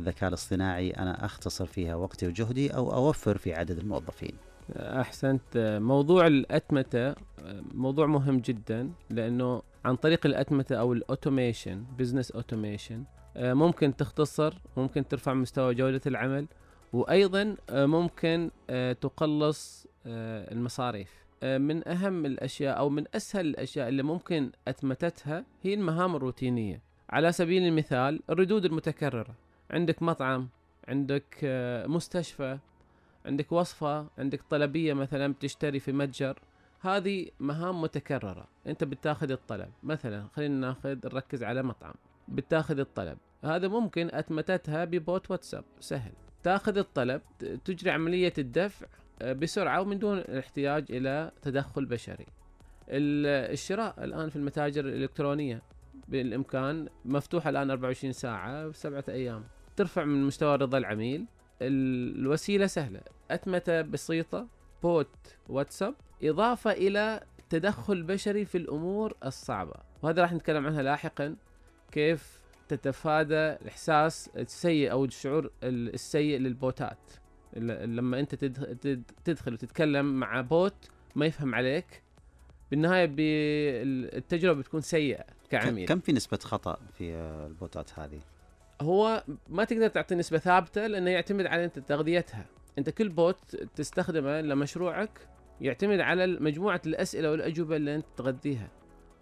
الذكاء الاصطناعي أنا أختصر فيها وقتي وجهدي أو أوفر في عدد الموظفين؟ أحسنت. موضوع الأتمتة موضوع مهم جدا، لأنه عن طريق الأتمتة أو الأوتوميشن، بزنس أوتوميشن، ممكن تختصر، ممكن ترفع مستوى جودة العمل، وأيضا ممكن تقلص المصاريف. من أهم الأشياء أو من أسهل الأشياء اللي ممكن أتمتتها هي المهام الروتينية. على سبيل المثال الردود المتكررة، عندك مطعم، عندك مستشفى، عندك وصفة، عندك طلبية مثلا بتشتري في متجر، هذه مهام متكررة. انت بتاخذ الطلب، مثلا خلينا نركز على مطعم، بتاخذ الطلب، هذا ممكن أتمتتها ببوت واتساب سهل. تاخذ الطلب، تجري عملية الدفع بسرعة ومن دون الاحتياج إلى تدخل بشري. الشراء الآن في المتاجر الإلكترونية بالإمكان، مفتوحة الآن 24 ساعة 7 أيام، ترفع من مستوى رضا العميل. الوسيلة سهلة، أتمتة بسيطة، بوت واتساب، إضافة إلى تدخل بشري في الأمور الصعبة، وهذا راح نتكلم عنها لاحقا، كيف تتفادى الإحساس السيء أو الشعور السيء للبوتات. لما أنت تدخل وتتكلم مع بوت ما يفهم عليك، بالنهاية التجربة بتكون سيئة كعميل. كم في نسبة خطأ في البوتات هذه؟ هو ما تقدر تعطي نسبة ثابتة، لأنه يعتمد على أنت تغذيتها. أنت كل بوت تستخدمه لمشروعك يعتمد على مجموعة الأسئلة والأجوبة اللي أنت تغذيها،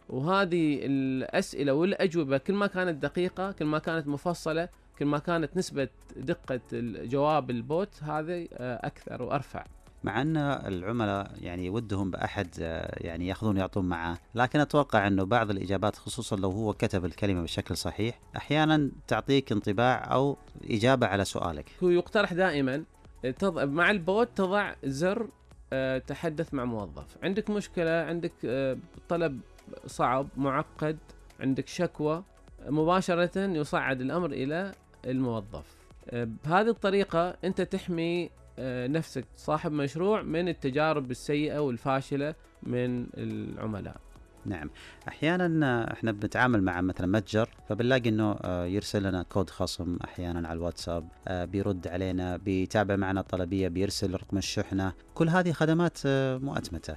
وهذه الأسئلة والأجوبة كل ما كانت دقيقة، كل ما كانت مفصلة، كل ما كانت نسبة دقة الجواب البوت هذه أكثر وأرفع. مع أن العملاء يعني ودهم بأحد يعني يأخذون يعطون معه، لكن أتوقع أنه بعض الإجابات خصوصا لو هو كتب الكلمة بشكل صحيح أحيانا تعطيك انطباع أو إجابة على سؤالك. هو يقترح دائما مع البوت تضع زر تحدث مع موظف، عندك مشكلة، عندك طلب صعب معقد، عندك شكوى، مباشرة يصعد الأمر إلى الموظف. بهذه الطريقة أنت تحمي نفسك صاحب مشروع من التجارب السيئة والفاشلة من العملاء. نعم، أحيانا إحنا بنتعامل مع مثلا متجر، فبنلاقي إنه يرسل لنا كود خصم أحيانا على الواتساب، بيرد علينا، بيتابع معنا الطلبية، بيرسل رقم الشحنة، كل هذه خدمات مؤتمتة.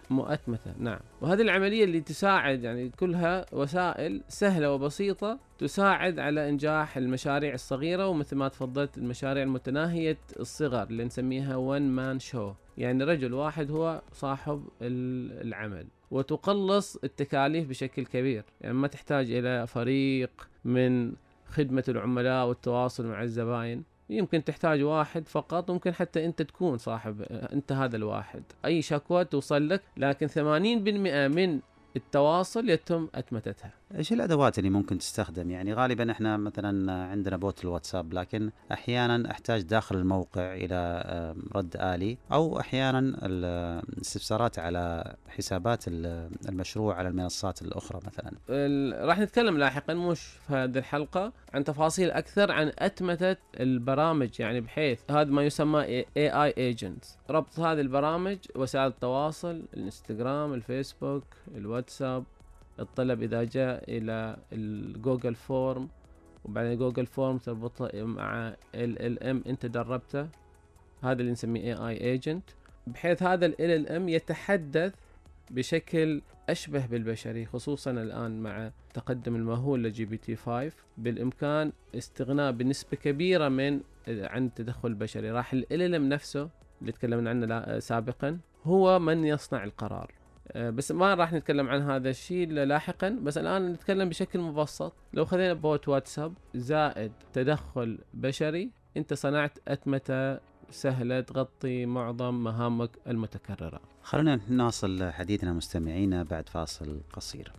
نعم، وهذه العملية اللي تساعد، يعني كلها وسائل سهلة وبسيطة تساعد على إنجاح المشاريع الصغيرة، ومثل ما تفضلت المشاريع المتناهية الصغر اللي نسميها one man show، يعني رجل واحد هو صاحب العمل، وتقلص التكاليف بشكل كبير. يعني ما تحتاج إلى فريق من خدمة العملاء والتواصل مع الزبائن، يمكن تحتاج واحد فقط، ممكن حتى أنت تكون صاحب، أنت هذا الواحد، أي شكوى توصل لك، لكن 80% من التواصل يتم أتمتتها. إيش الأدوات اللي ممكن تستخدم؟ يعني غالبا إحنا مثلا عندنا بوت الواتساب، لكن أحيانا أحتاج داخل الموقع إلى رد آلي، أو أحيانا الاستفسارات على حسابات المشروع على المنصات الأخرى مثلا. راح نتكلم لاحقا مش في هذه الحلقة عن تفاصيل أكثر عن أتمتة البرامج، يعني بحيث هذا ما يسمى AI agents، ربط هذه البرامج وسائل التواصل، الانستغرام، الفيسبوك، الواتساب، الطلب إذا جاء إلى الجوجل فورم، وبعدين جوجل فورم تربطه مع LLM أنت دربته، هذا اللي نسميه AI agent، بحيث هذا LLM يتحدث بشكل أشبه بالبشري، خصوصا الآن مع تقدم المهول لGPT-5 بالإمكان استغناء بنسبة كبيرة عن التدخل البشري. راح LLM نفسه اللي تكلمنا عنه سابقا هو من يصنع القرار، بس ما راح نتكلم عن هذا الشيء لاحقا، بس الآن نتكلم بشكل مبسط. لو خذينا بوت واتساب زائد تدخل بشري، انت صنعت أتمتة سهلة تغطي معظم مهامك المتكررة. خلونا نواصل حديثنا مستمعينا بعد فاصل قصير.